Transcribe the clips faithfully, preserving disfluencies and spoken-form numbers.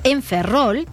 en Ferrol.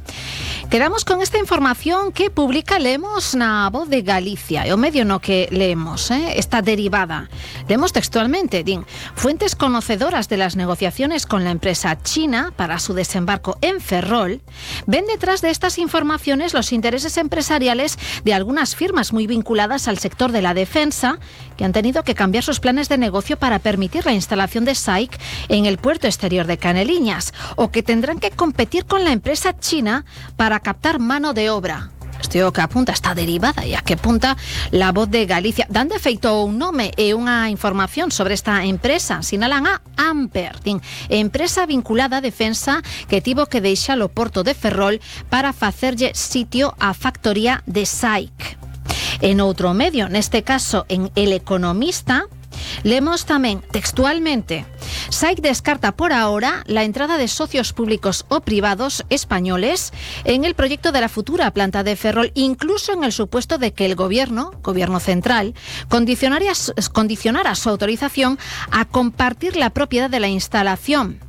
Quedamos con esta información que publica Lemos na Voz de Galicia, e o medio no que leemos, eh, esta derivada. Leemos textualmente, din, fuentes conocedoras de las negociaciones con la empresa china para su desembarco en Ferrol ven detrás de estas informaciones los intereses empresariales de algunas firmas muy vinculadas al sector de la defensa que han tenido que cambiar sus planes de negocio para permitir la instalación de S A I C en el puerto exterior de Caneliñas, o que tendrán que competir con la empresa china para captar mano de obra. Isto é o que apunta esta derivada e a que apunta La Voz de Galicia. Dan de feito un nome e unha información sobre esta empresa. Sinalan a Amper, din, empresa vinculada a defensa que tivo que deixar o porto de Ferrol para facerlle sitio á factoría de S A I C. En outro medio, neste caso en El Economista, leemos tamén textualmente: S A I C descarta por ahora la entrada de socios públicos o privados españoles en el proyecto de la futura planta de Ferrol, incluso en el supuesto de que el gobierno, gobierno central, condicionara, condicionara su autorización a compartir la propiedad de la instalación.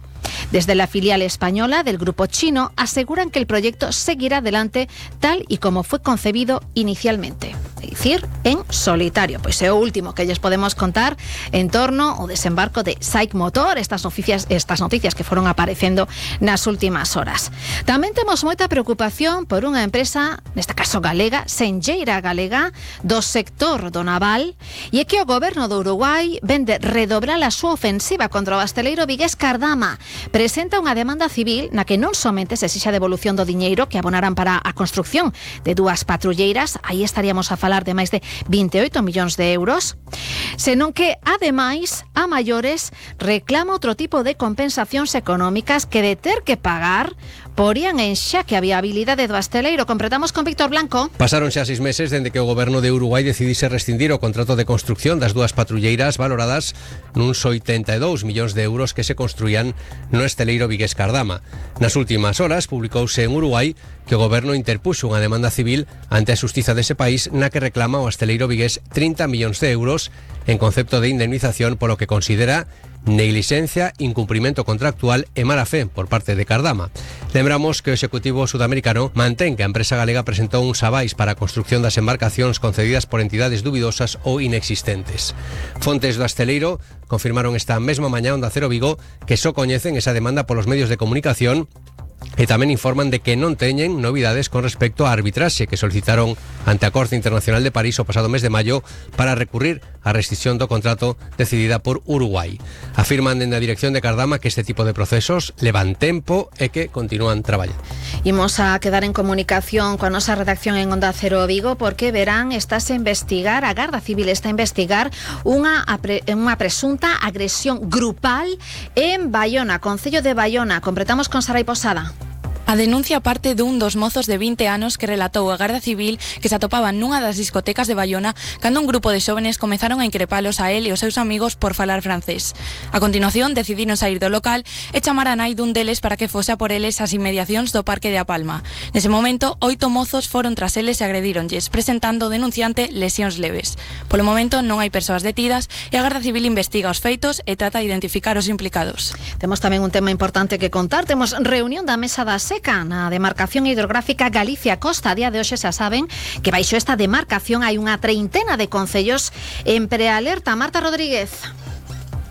Desde la filial española del grupo chino aseguran que el proyecto seguirá adelante tal y como fue concebido inicialmente, es decir, en solitario. Pois é o último que lles podemos contar en torno ao desembarco de S A I C Motor, estas noticias, estas noticias que foron aparecendo nas últimas horas. Tamén temos moita preocupación por unha empresa, neste caso galega, Senlleira Galega, do sector do naval, e é que o goberno do Uruguai vende redobrar a súa ofensiva contra o hostaleiro vigués Cardama. Presenta unha demanda civil na que non somente se exixa devolución do diñeiro que abonaran para a construcción de dúas patrulleiras, aí estaríamos a falar de máis de vinte e oito millóns de euros, senón que, ademais, a maiores reclama outro tipo de compensacións económicas que de ter que pagar porían en xaque a viabilidade do hostaleiro. Completamos con Víctor Blanco. Pasaron xa seis meses dende que o goberno de Uruguai decidise rescindir o contrato de construcción das dúas patrulleiras valoradas nuns oitenta e dous millóns de euros que se construían no hostaleiro vigués Cardama. Nas últimas horas publicouse en Uruguai que o goberno interpuxo unha demanda civil ante a xustiza dese país na que reclama o hostaleiro vigués trinta millóns de euros en concepto de indemnización polo que considera negligencia, incumprimento contractual e mala fe por parte de Cardama. Lembramos que o Executivo sudamericano mantén que a empresa galega presentou uns avais para a construcción das embarcacións concedidas por entidades dubidosas ou inexistentes. Fontes do hostaleiro confirmaron esta mesma mañá Onda Cero Vigo que só coñecen esa demanda polos medios de comunicación e tamén informan de que non teñen novidades con respecto á arbitraxe que solicitaron ante a Corte Internacional de París o pasado mes de maio para recurrir á rescisión do contrato decidida por Uruguai. Afirman dende a dirección de Cardama que este tipo de procesos levan tempo e que continúan traballando. Imos a quedar en comunicación coa nosa redacción en Onda Cero Vigo porque verán, estás a investigar, a Garda Civil está a investigar unha, unha presunta agresión grupal en Baiona, Concello de Baiona. Completamos con Sarai Posada. A denuncia parte dun dos mozos de vinte anos que relatou a Garda Civil que se atopaban nunha das discotecas de Baiona cando un grupo de xóvenes comezaron a increpalos a él e os seus amigos por falar francés. A continuación decidiron sair do local e chamar a nai dun deles para que fose a por eles ás inmediacións do Parque de A Palma. Nese momento, oito mozos foron tras eles e agredíronlles, presentando o denunciante lesións leves. Polo momento non hai persoas detidas e a Garda Civil investiga os feitos e trata de identificar os implicados. Temos tamén un tema importante que contar. Temos reunión da Mesa da Seca na demarcación hidrográfica Galicia-Costa. A día de hoxe xa saben que baixo esta demarcación hai unha treintena de concellos en prealerta. Marta Rodríguez.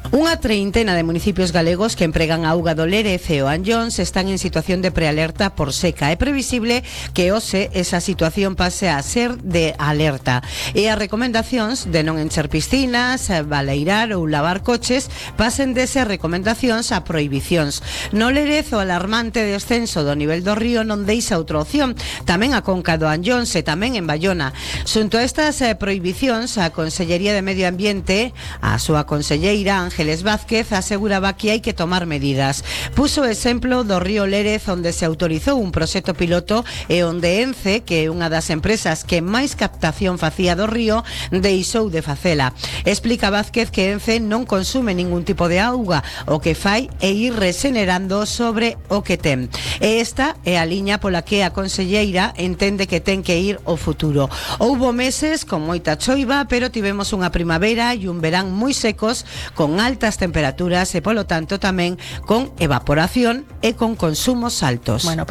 Unha treintena de municipios galegos que empregan a auga do Lérez e o Anllóns están en situación de prealerta por seca. É previsible que hoxe esa situación pase a ser de alerta. E as recomendacións de non encher piscinas, baleirar ou lavar coches pasen dese recomendacións a prohibicións. No Lérez o alarmante descenso do nivel do río non deixa outra opción. Tamén a conca do Anllóns e tamén en Baiona. Xunto a estas eh, prohibicións, a Consellería de Medio Ambiente, a súa conselleira Ángeles Vázquez, aseguraba que hai que tomar medidas. Puso o exemplo do río Lérez, onde se autorizou un proxecto piloto e onde Ence, que é unha das empresas que máis captación facía do río, deixou de facela. Explica Vázquez que Ence non consume ningún tipo de auga, o que fai é ir regenerando sobre o que ten. E esta é a liña pola que a conselleira entende que ten que ir o futuro. Houbo meses con moita choiva, pero tivemos unha primavera e un verán moi secos, con altas temperaturas e, polo tanto, tamén con evaporación e con consumos altos. Bueno, pues